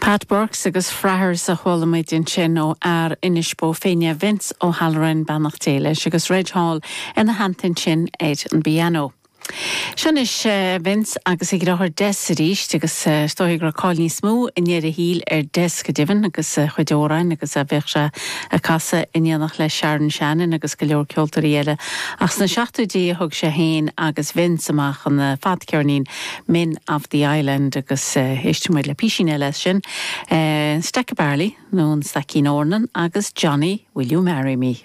Pat Burks agus Fraghers a chuala muid ansin ó fhear Inis Bó Finne, Vince O'Halloran, beannacht Dé leis, agus Reg Hall ina theannta ansin ar an bpianó. Seo anois Vince agus a dheartháir Des arís agus is dóigh go raibh cáil níos mó i ndeireadh a shaoil ar Des go deimhin agus a chuid amhráin agus a bheadh sé ag casadh in éineacht le Sharon Shannon agus go leor ceoltóirí eile ach sna seachtóidí a thug sé féin agus Vince amach an fadcheirnín Men of the Island agus éistfidh muid le písín eile as sin, Stack of Barley nó an Staicín Eornan agus Johnny Will You Marry Me?